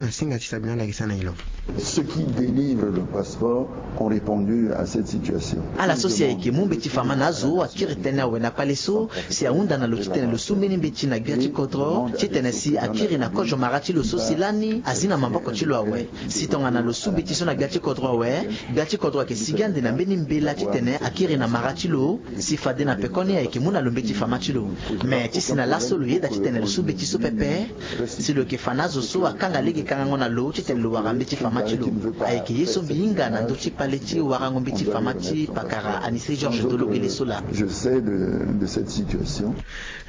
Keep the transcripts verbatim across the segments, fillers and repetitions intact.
Asinga ti sabina lakisa na ilo. Ceux qui délivrent le passeport ont répondu à cette situation. Ala so si ayeke mu mbeti fama na azo akiri tënë awe na kpale so si ahunda na lo titene lo su mbeni mbeti na gbia ti kodro titene si akiri na kozo mara ti lo so si lani azi na maboko ti lo awe. Si tongana lo su mbeti so na gbia ti kodro awe, gbia ti kodro ayeke sigi ande na mbeni mbela titene akiri na mara ti lo. Si fade na pekoni ayeke mu na lo mbeti fama ti lo. Me ti si na laso lo yeda titene lo su mbeti so pepe. Si lo yeke fa na azo so akanga lege kangango na lo titene lo wara mbeti fama ti lo. Ayeke ye so mbi hinga na ndö ti kpale ti warango mbeti fama ti pakara Anicet Georges Dologele so laa. Je sais de, de cette situation.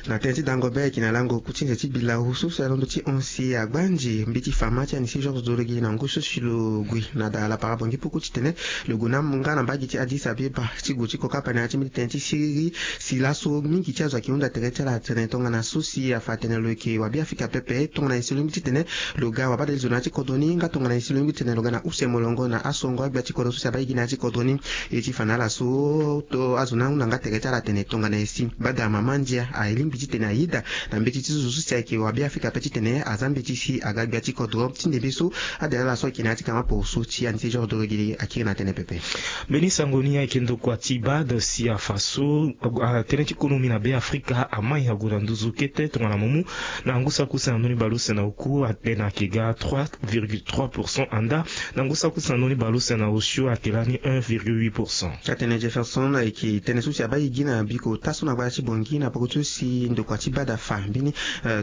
Na tënë ti dango be ayeke na lango ku ti nze ti bilau so si alondo ti hon si agbanzi mbeti fama ti Anicet Georges Dologele na ngu so si lo gue na da lapara bongi puku titene lo gue na nga na mbage ti Addis Abeba ti gue ti kokapa na ya ti mbeti tënë ti siriri. Si laso mingi ti azo ayeke hunda tere ti ala tene tongana so si afa atene lo yeke wabiafrika pepe tongana e si lo lingbi titene lo ga wabadale zo na ya ti kodro ni nga tongana e si lo lingbi titene lo ga na use molongo na asongo agbia ti kodro so si abaa e gi na ya ti kodro ni. E ti fa na ala so to azo ni ahunda nga tere ti ala atene tongana e si bada mama ndia alingbi titene ayeda na mbeti ti zo so si ayeke wabiafrika ape titene aza mbeti si aga gbia ti kodro ti ndembe so. Ade na ala so ayeke na ya ti kama poroso ti Anicet Georges Dologele akiri na tënë pepe. Mbeni sango ni ayeke ndokua ti bad si afa so tënë ti konomi na Beafrika amai ague na nduzu kete tongana mumu na ngu saki use na ndoni baleuse na oku atene ayeke ga trois virgule trois pourcent anda na ngu saki use na ndoni baleuse na osio ayeke lani un virgule huit pourcent. Atene Jefferson ayeke tënë so si abaa e gi na biko ota so na gbaya ti bongi na poko ti so si ndokua ti bad afa mbeni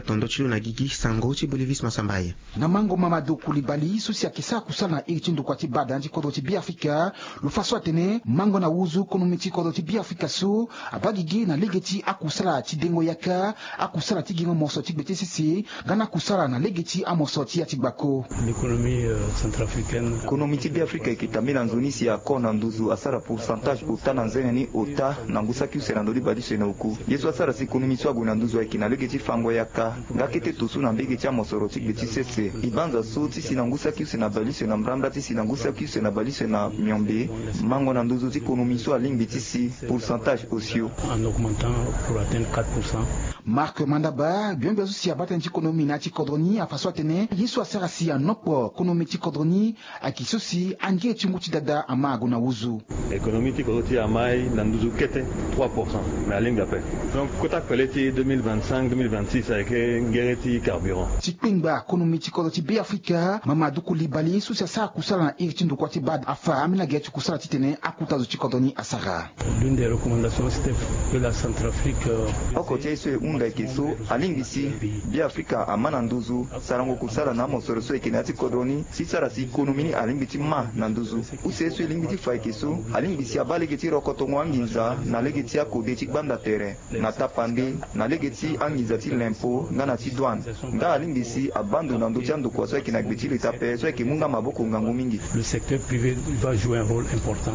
tondo ti lo na gigi sango ti Bolivis Masambaye. Na mango Mamadou Koulibaly so si ayeke sara kusala na iri ti ndokua ti bad na ya ti kodro ti Beafrika, lo fa so atene mango na wuzu konomi ti kodro ti Beafrika so abaa gigi na lege ti akusala ti dengo yaka, akusala ti gingo moso ti gbe ti sese nga na akusala na lege ti amoso ti ya ti gbako. L'économie centrafricaine. Konomi ti Beafrika ayeke tambela nzoni si akô na nduzu asara pourcentage ota na nzene ni ota na ngu saki use na ndoni baleuse na oku. Ye so asara si konomi so ague na nduzu ayeke na lege ti fango yaka nga kete toso na mbege ti amosoro ti gbe ti sese. E banza so ti si na ngu saki use na baleuse na mbrambra ti si na ngu saki use na baleuse na miombe, mango na nduzu ti konomi so alingbi ti si pourcentage osio. En augmentant pour atteindre quatre pour cent. Marc Mandaba, gbia gbia so si abaa tënë ti konomi na ya ti kodro ni afa so atene ye so asara si anopo konomi ti kodro ni ayeke so si angere ti ngu ti dada ama ague na wuzu. Économie ti kodro ti amai na nduzu kete trois pourcent. Mais alingbi ape. Donc kota kpele ti deux mille vingt-cinq deux mille vingt-six ayeke ngere ti carburant. Ti kpengba konomi ti kodro ti Beafrika, Mamadou Koulibaly so si asara kusala na iri ti ndokua ti bad afa ambeni agere ti kusala titene akota zo ti kodro ni asara. L'une des recommandations c'était que la Centrafrique. Oko ti aye so e hunda ayeke so alingbi si Beafrika ama na nduzu sarango kusala na amosoro so ayeke na ya ti kodro ni si sara si konomi ni alingbi ti ma na nduzu. Use so e lingbi ti fa ayeke so alingbi si abaa lege ti rokotongo anginza na lege ti akode ti gbanda tere na tapande na lege ti anginza ti lempo nga na ti douane. Nga alingbi si abaa ndo na ndö ti andokua so ayeke na gbe ti leta ape so ayeke mu nga maboko ngangu mingi. Le secteur privé va jouer un rôle important.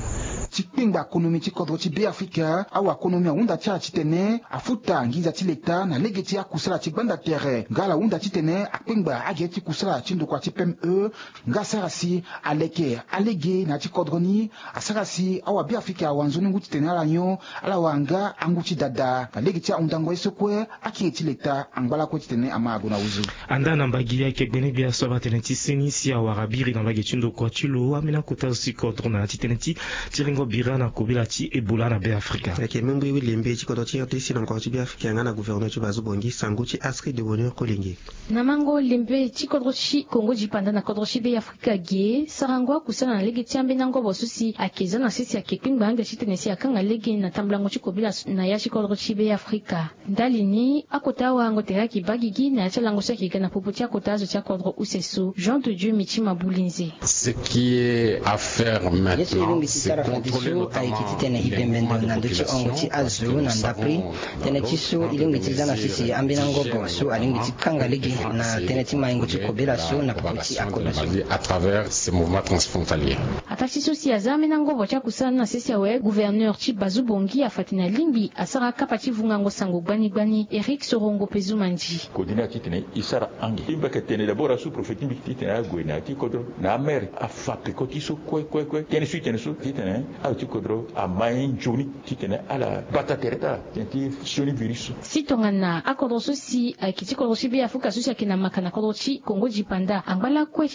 Ti kpengba konomi ti kodro ti Beafrika, awakonomi ahunda ti ala titene afuta nginza ti leta na lege ti akusala ti gbanda tere nga ala hunda titene akpengba agere ti kusala ti ndokua ti P M E nga asara si aleke alege na ya ti kodro ni. Asara si awabeafrika awa nzoni ngu titene ala nyon ala wara nga angu ti dada na lege ti ahundango ye so kue. Akiri ti leta angba lakue titene ama ague na wuzu. Andaa na mbagi ayeke gbene gbia so abaa tënë ti seni si awara biri na mbage ti ndokua ti lo ambeni akota zo ti kodro na ya ti tënë ti tiringo bira na kobela ti Ebola na Beafrika. Ayeke mengbe lembe ti kodro ti R D C na ngoro ti Beafrika nga na gouverneur ti Bazu Bongi sango ti Astrid de Bonheur Kolenge. Na mango lembe ti kodro ti Kongo dipanda na kodro ti Beafrika ge sarango akusala na lege ti ambeni angobo so si ayeke za na sese ayeke kpengba ande titene si akanga lege na tambulango ti kobela na ya ti kodro ti Beafrika. Ndali ni akota awarango tere ayeke baa gigi na ya ti alango so ayeke ga na popo ti akota azo ti akodro use so. Jean de Dieu Mitima Bulinze. Ce qui est à faire maintenant, c'est contrôler notamment les mouvements de population, parce que nous savons tënë ti so e lingbi ti za na sese ambeni angobo so alingbi ti kanga lege na tënë ti maingo ti kobela so na popo ti akodro so. À travers ces mouvements transfrontaliers. Ataa ti so si aza ambeni angobo ti akusala ni na sese awe, gouverneur ti Bazu Bongi afa tene alingbi asara akapa ti vungango sango gbani gbani. Eric Sorongo Pezumandi. Kodina titene e sara ange ti mbeke tene d'abord asous-préfet ti mbi titene ague na ya ti kodro na amere afa peko ti so kue kue kue tënë so e tene so titene azo ti kodro ama ye nzoni titene ala bata tere ti ala tene ti sioni virus so. Si tongana akodro so si ayeke ti kodro ti Beafrika so si ayeke na maka na kodro ti Kongo di Panda angba lakue.